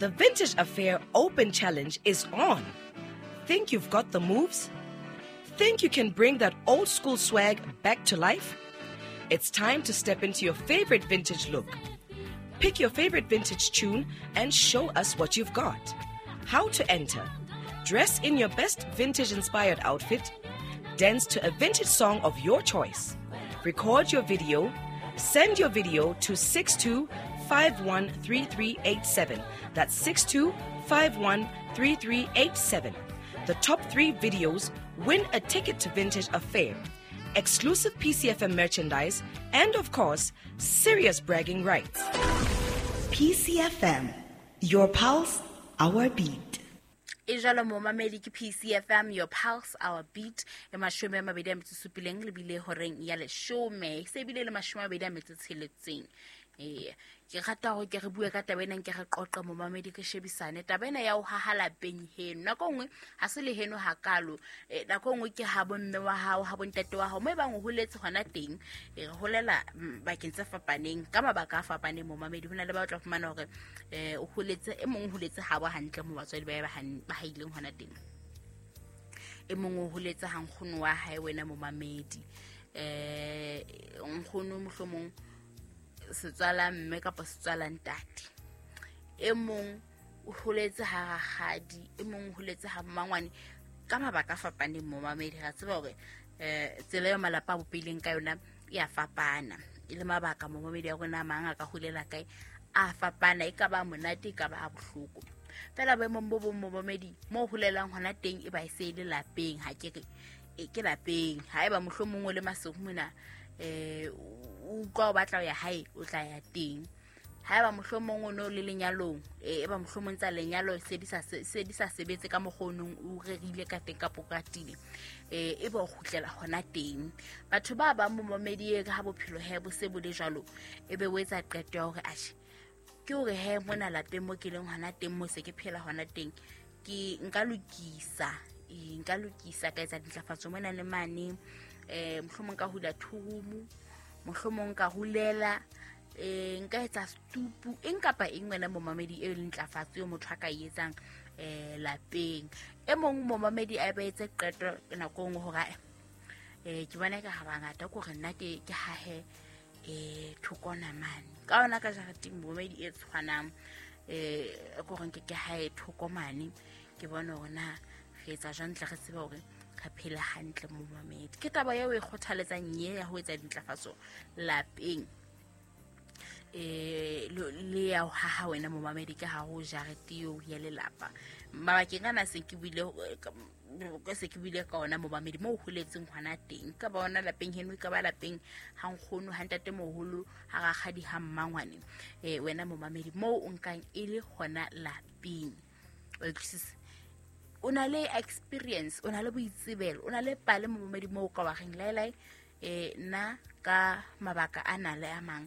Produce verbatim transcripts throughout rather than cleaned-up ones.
The Vintage Affair Open Challenge is on. Think you've got the moves? Think you can bring that old school swag back to life? It's time to step into your favorite vintage look. Pick your favorite vintage tune and show us what you've got. How to enter? Dress in your best vintage-inspired outfit. Dance to a vintage song of your choice. Record your video. Send your video to six two five one three three eight seven. That's six two five one three three eight seven. The top three videos win a ticket to Vintage Affair, exclusive P C F M merchandise, and of course, serious bragging rights. P C F M, your pulse, our beat. E jalo momamedi ke P C F M, your pulse, our beat. E mashome a mabedi a metso supileng le bile horeng ya leshome. Se bile le mashome a mabedi a metso tsheletseng. Eh, ke rata hore ke re bue ka taba ena, nke re qoqe momamedi, ke shebisane taba ena ya ho haha lapeng heno. Nako nngwe ha se le heno hakalo, eh, nako nngwe ke ha bomme wa hao, ha bontate wa hao, mo e bang o holetse hona teng. Eh, re holela bakeng tse fapaneng ka mabaka a fapaneng momamedi. Ho na le ba o tla fumana hore eh o holetse, e mong o holetse habo hantle mo batswadi ba ba ba haileng hona teng, e mong o holetse ha nkgono wa hae wena momamedi. Eh nkgono mohlomong setswala mme kapa setswala ntate, e mong o holetse ha rakgadi, e mong o holetse ha mmangwane, ka mabaka a fapaneng momamedi. Ra tseba hore eh tsela eo malapa a bopileng ka yona e a fapana, e le mabaka momamedi a rona a mang a ka holela kae a fapana, e ka ba monate, e ka ba a bohloko. Fela boemong bo bong momamedi, mo holelang hona teng e ba e se le lapeng, ha ke re e ke lapeng. Haeba mohlomong o le Maseru mona, eh o utlwa o batla ho ya hae, o tla ya teng. Haeba mohlomong o no le lenyalong, e ba mohlomong tsa lenyalo se di sa se di sa sebetse ka mokgwa o nong o rerile ka teng kapo ka tile, eh e ba o kgutlela hona teng. Batho ba bang momamedi e ka ha bophelo he bo se bo le jwalo, e be o etsa qeto ya hore atjhe, ke hore he mona lapeng mo ke leng hona teng, mo se ke phela hona teng, ke nka lokisa, e nka lokisa ka etsa dintlafatso mona le mane, eh mohlomong ka hula thurumu, mohlomong ka hulela, eh nka etsa stupu, eng kapa eng wena momamedi e leng ntlafatso eo motho a ka e etsang eh lapeng. E mong momamedi a ba etse qeto nako nngwe hore eh ke bona ka ha bangata ko re nna ke ke hahe eh thokona mane ka ona ka jareteng momamedi e tshwanang, eh ko re nke ke hae thoko mane, ke bona hore na re etsa jwang tle re tsebe hore ka phela hantle momamedi. Ke taba eo e kgothaletsang ye ya ho etsa dintlafatso lapeng, eh le ya ho haha wena momamedi ka ha ho jarete eo ya lelapa. Mabakeng ana se ke buile ka se ke buile ka ona momamedi, mo holetseng hona teng, ka ba ona lapeng heno, ka ba lapeng ha nkgono, ha ntate moholo, ha rakgadi, ha mmangwane, eh wena momamedi mo o nkang e le hona lapeng. O utlwisisa, o na le experience, o na le boitsebelo, o na le pale momamedi mo ka wa reng laelai, eh nna ka mabaka a na le a mang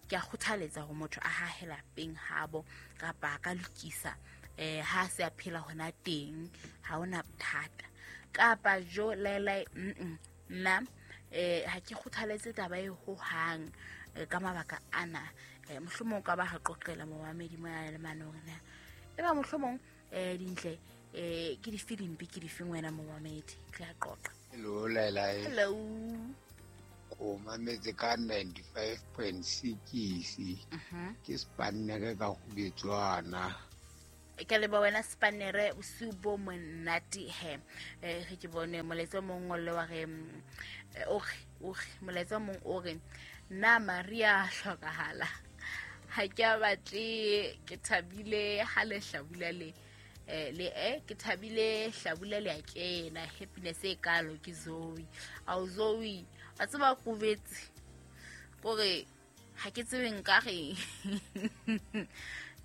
ke a kgothaletsa hore motho a hahe lapeng habo kapa ka lokisa eh ha se a phela hona teng, ha ona bothata. Kapa jo laelai, nna eh ha ke kgothaletse taba e ho hang ka mabaka ana. Eh mohlomong ka ba ha qoqela momamedi mona le mane hore na e ba mohlomong eh dintle eh ke di filimpi ke di feng wena momamedi, ke a qoqa. Hello laelai. Hello. Ko mametse ka ninety-five point six. Mhm. Ke Spannere ka Khubetswana. Ke le ba wena Spannere, bosiu bo monate he. Eh re ke bone molaetsa mong o le wa re o re o re molaetsa mong o re nna Maria hlokahala, ha ke a batle, ke thabile ha le hlabula le eh le eh ke thabile hlabula le a kena happiness e kalo ke Zoe. Au Zoe, a tseba kobetse kore ha ke tsebe nka re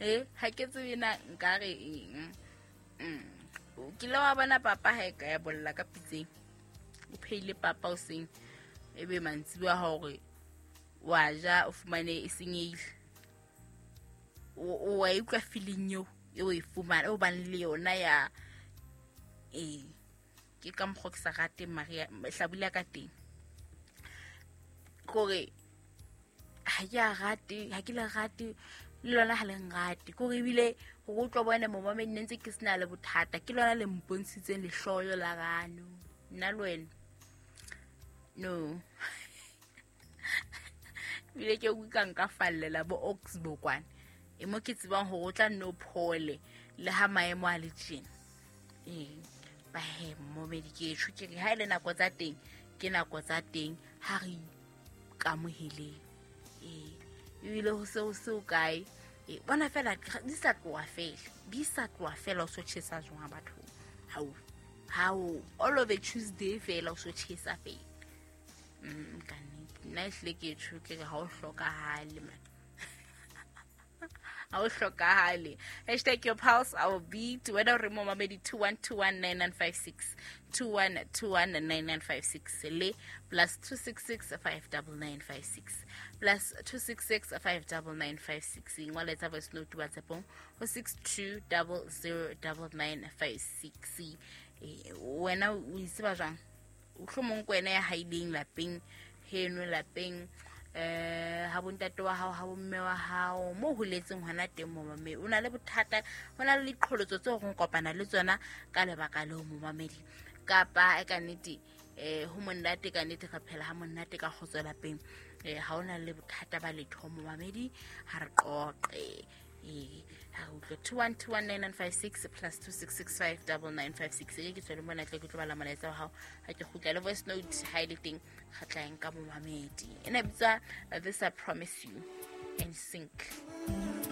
eh ha ke tsebe na nka re eng. O kile wa bona papa ha e ka ya bolla ka pitseng, o pheile papa o seng, ebe mantsibuya hore wa ja o fumane e senyehile, o wa utlwa feeling eo e o e fumana o bang le yona ya eh ke ka mokgwa ke sa rateng Maria hlabula ka teng, kore ha ke a rate, ha ke le rate Le lona ha le nrate. Ke hore ebile hore o tlo bone momamedi ne ntse ke sena le bothata. Ke lona le mpontshitseng lehloyo la rano. Nna le wena. No. Ebile ke utlwa nka fallela bo Oxbow kwana. E mo ke tsebang hore o tla nno phole le ha maemo a le tjena. Ee, ba he momamedi ke tjho ke re ha ile nako tsa teng ke nako tsa teng ha re ikamoheleng. Ee, ebile ho se ho se ho kae. Ee, bona fela di sa tloha fela, di sa tloha fela o so tjhesa jwang batho. Hao, hao, all of a Tuesday fela o so tjhesa fela. Mm, ka nnete. Nna ehlile ke tjho ke re ha o hlokahale man. Ha o hlokahale. Hashtag your pulse, our beat. Wena o re momamedi two one two one nine nine five six, two one two one nine nine five six le plus two six six five double nine five six, plus two six six five double nine five six. Ingwala etsa voice note WhatsApp-ong ho six two double zero double nine five six. Eh, wena o itseba jwang? Mohlomong ke wena ya haileng lapeng heno lapeng, eh, ha bontate wa hao, ha bomme wa hao, mo holetseng hona teng momamedi. O na le bothata, ho na le diqholotso tseo re kopana le tsona ka lebaka leo momamedi. Kapa e ka nnete, eh, ho monate ka nnete re phela ha monate ka kgotso lapeng. Eh, ha ona le bothata ba letho momamedi, ha re qoqe. Eh, ha re utlwe two one two one nine nine five six plus two six six five double nine five six. E ke tswele mona tle ke tlo bala molaetsa wa hao. Ha ke kgutla le voice note ha e le teng, re tla e nka momamedi. Ena e bitswa This I Promise You and Sync.